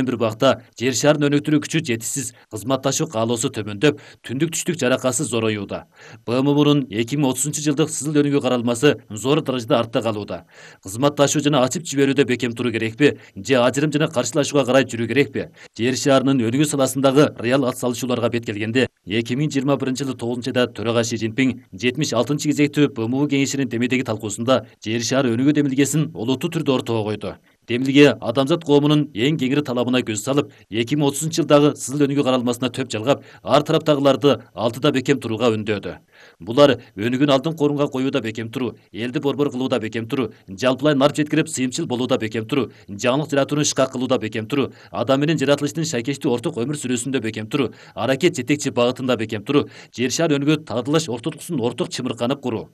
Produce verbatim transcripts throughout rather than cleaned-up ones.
бир убакта жер шарын өнүктүрүү күчү жетишсиз, кызматташуу каалоосу төмөндөп, түндүк түштүк жаракасы зороюуда. БМУнун эки миң отузунчу жылдык сызыл өнүгүү каралмасы зор даражада артта калууда. Кызматташуу жана ачып жиберүүдө бекем туруу керекпи, же ажырым жана каршылашууга карай жүрүү керекпи? Жер шарынын өнүгүү саласындагы реал ат салышууларга бет келгенде, эки миң жыйырма биринчи жылы тогузунчу айда төрага Си Цзиньпин жетимиш алтынчы кезектүү БМУ кеңешинин демейдеги талкуусунда жер шары өнүгүү демилгесин олуттуу түрдө ортого койду. Демилге адамзат коомунун эң кеңири талабына көз салып, эки миң отузунчу жылдагы сызыл өнүгүү каралмасына төп жалгап, ар тараптагыларды алдыда бекем турууга үндөдү. Булар өнүгүүнү алдыңкы орунга коюуда бекем туруу, элди борбор кылууда бекем туруу, жалпылай нарп жеткирип сыйымчыл болууда бекем туруу, жаңылык жаратууну ишка кылууда бекем туруу, адам менен жаратылыштын шайкештүү орток өмүр сүрүүсүндө бекем туруу, аракет жетекчи багытында бекем туруу, жер шары өнүгүү тагдырлаш ортотукусун орток чымырканып куруу.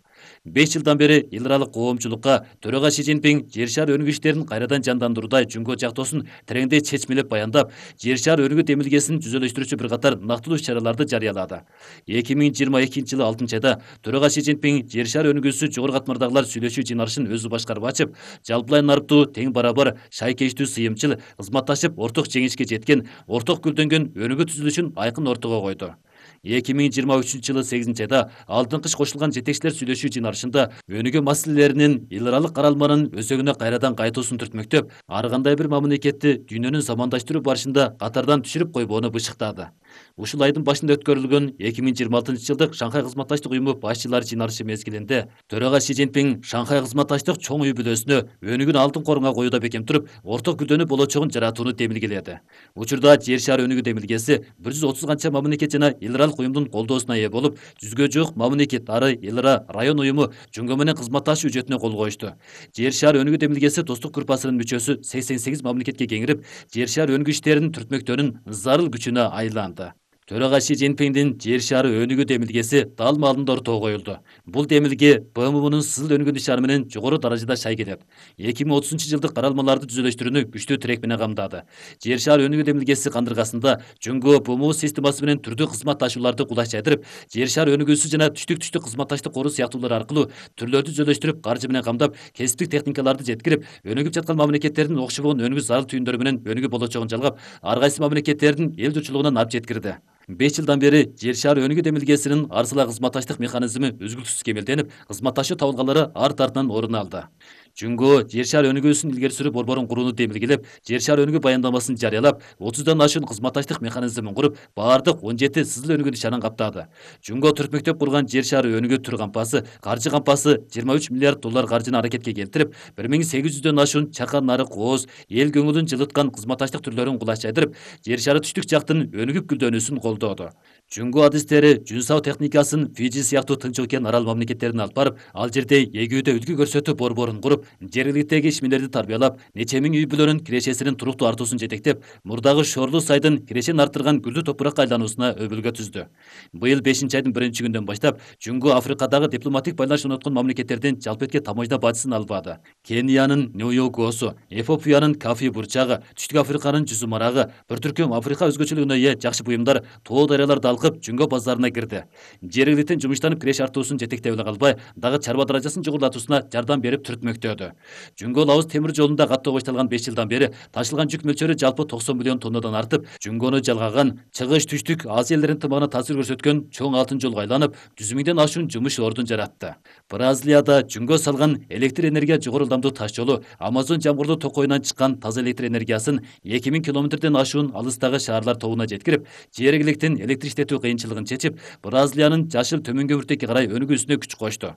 беш жылдан бери эл аралык коомчулукка төрага Си Цзиньпин жер шары өнүгүү иштерин кайрадан жандандыруудай жөнгө жактоосун тереңдей чечмелеп баяндап, жер шары өнүгүү демилгесин жүзөлөштүрүүчү бир катар нактылуу иш-чараларды жарыялады. эки миң жыйырма экинчи жылы алтынчы айда төрага Си Цзиньпин жер шары өнүгүүсү жогору катмардагылар сүйлөшүү жыйналышын өзү башкарып ачып, жалпылай нарптуу, тең барабар, шайкештүү, сыйымчыл, кызматташып орток жеңишке жеткен, орток гүлдөнгөн өнүгүү түзүлүшүн айкын ортого койду. эки миң жыйырма үчүнчү жылы сегизинчи айда алтын кыш кошулган жетекчилер сүйлөшүү жыйналышында өнүгүү маселелеринин эл аралык каралманын өзөгүнө кайрадан кайтуусун түртмөктөп, ар кандай бир мамлекетти дүйнөнүн замандаштыруу барышында катардан түшүрүп койбоону бышыктады. Ушул айдын башында өткөрүлгөн эки миң жыйырма алтынчы жылдык Шанхай кызматташтык уюму башчылары жыйналышы мезгилинде төрага Си Цзиньпин Шанхай кызматташтык чоң үй бүлөсүнө өнүгүүнү алдыңкы орунга коюуда бекем туруп, орток күлдөнүү болочогун жаратууну демилгеледи. Учурда жер шары өнүгүү демилгеси бир жүз отуз канча мамлекет жана эл аралык уюмдун колдоосуна ээ болуп, жүзгө жук мамлекет ары эл ара район уюму жөнгө менен кызматташуу үчөтүнө кол коюшту. Жер шары өнүгүү демилгеси достук группасынын мүчөсү сексен сегиз мамлекетке кеңирип, жер шары өнүгүү иштерин түртмөктөөнүн зарыл күчүнө айланды. Төрага Си Цзиньпиндин жер шары өнүгүү демилгеси дал маалында ортого коюлду. Бул демилге БМУнун сызыл өнүгүү ишары менен жогору даражада шай келет. эки миң отузунчу жылдык каралмаларды түзөлөштүрүүнү күчтүү тирек менен камдады. Жер шары өнүгүү демилгеси кандыргасында жөнгө БМУ системасы менен түрдүү кызматташууларды кулай чайдырып, жер шары өнүгүүсү жана түштүк-түштүк кызматташтык кору сыяктуулар аркылуу түрлөрдү түзөлөштүрүп, каржы менен камдап, кесиптик техникаларды жеткирип, өнүгүп жаткан мамлекеттердин окшогон өнүгүү зарыл түйүндөрү менен өнүгүү болочогун жалгап, ар кайсы мамлекеттердин эл журтчулугуна нарп жеткирди. беш жылдан бери жер шары өнүгүү демилгесинин арсыла кызматташтык механизми үзгүлтүксүз кемелденип, кызматташуу табылгалары ар тартынан орун алды. Жөнгө жер шары өнүгүүсүн илгери сүрүү борборун курууну демилгелеп, жер шары өнүгүү баяндамасын жарыялап, отуздан ашуун кызматташтык механизмин куруп, баардык он жети сызыл өнүгүү ишарын каптады. Жөнгө түртмөктөп курган жер шары өнүгүү түр кампасы, каржы кампасы жыйырма үч миллиард доллар каржыны аракетке келтирип, бир миң сегиз жүздөн ашуун чакан нарык кооз, эл көңүлүн жылыткан кызматташтык түрлөрүн кулай чайдырып, жер шары түштүк жактын өнүгүп гүлдөнүүсүн колдоду. Жөнгө адистери жүн сау техникасын Фиджи сыяктуу Тынч океан арал мамлекеттерине алып барып, ал жерде эгүүдө үлгү көрсөтүү борборун куруп, жергиликтеги ишмерлерди тарбиялап, нече миң үй бүлөнүн кирешесинин туруктуу артуусун жетектеп, мурдагы Шорлуу сайдын кирешен арттырган гүлдүү топуракка айлануусуна өбөлгө түздү. Быйыл бешинчи айдын биринчи күндөн баштап Жөнгө Африкадагы дипломатик байланыш орноткон мамлекеттердин жалпы этке таможня бажысын алып барды. Кениянын Нью-Йоркосу, Эфиопиянын Кафи бурчагы, Түштүк Африканын жүзү марагы, бир түркүм Африка өзгөчөлүгүнө ээ жакшы буюмдар тоо дарыяларды алкып Жөнгө базарына кирди. Жергиликтен жумуштанып киреш артуусун жетектеп эле калбай, дагы чарба даражасын жогорулатуусуна жардам берип түртмөктөдү. Жөнгө Лаос темир жолунда каттоо башталган беш жылдан бери ташылган жүк мөлчөрү жалпы токсон миллион тоннадан артып, Жөнгөнү жалгаган, чыгыш түштүк Азия элдеринин тымагына таасир көрсөткөн чоң алтын жолго айланып, жүз миңден ашуун жумуш ордун жаратты. Бразилияда Жөнгө салган электр энергия жогору ылдамдуу таш жолу Амазон жамгырдуу токойунан чыккан таза электр энергиясын эки миң километрден ашуун алыстагы шаарлар тобуна жеткирип, жергиликтин электр иштетүү кыйынчылыгын чечип, Бразилиянын жашыл төмөнгө өртөккө карай өнүгүүсүнө күч кошту.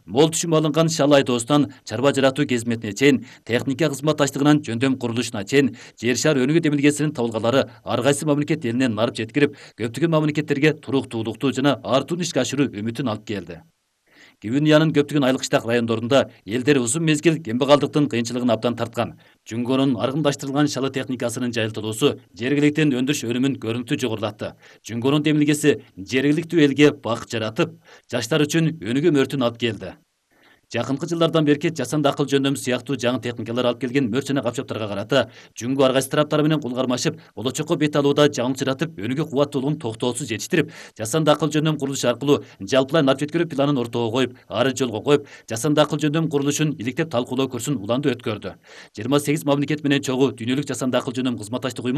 Мол түшүм алынган шал айдоостан чарба жаратуу кезметине чейин, техника кызматташтыгынан жөндөм курулушуна чейин, жер шары өнүгүү демилгесинин табылгалары ар кайсы мамлекет элинен нарып жеткирип, көптөгөн мамлекеттерге туруктуулукту жана артууну ишке ашыруу үмүтүн алып келди. Гвинеянын көптөгөн айыл кыштак райондорунда элдер узун мезгил кембагалдыктын кыйынчылыгын абдан тарткан. Жөнгөнүн аргындаштырылган шалы техникасынын жайылтылуусу жергиликтин өндүрүш өнүмүн көрүнүктүү жогорулатты. Жөнгөнүн демилгеси жергиликтүү элге бак жаратып, жаштар үчүн өнүгүү мөртүн алып келди. Жакынкы жылдардан берки жасанды акыл жөндөм сыяктуу жаңы техникалар алып келген мөрт жана капчаптарга карата жүнгө ар кайсы тараптары менен кол кармашып, болочокко бет алууда жаңылчыратып, өнүгүү кубаттуулугун токтоосуз жетиштирип, жасанды акыл жөндөм курулушу аркылуу жалпылай нарп жеткирүү планын ортого коюп, ары жолго коюп, жасанды акыл жөндөм курулушун иликтеп талкуулоо курсун уланды өткөрдү. жыйырма сегиз мамлекет менен чогуу дүйнөлүк жасанды акыл жөндөм кызматташтык уюмунун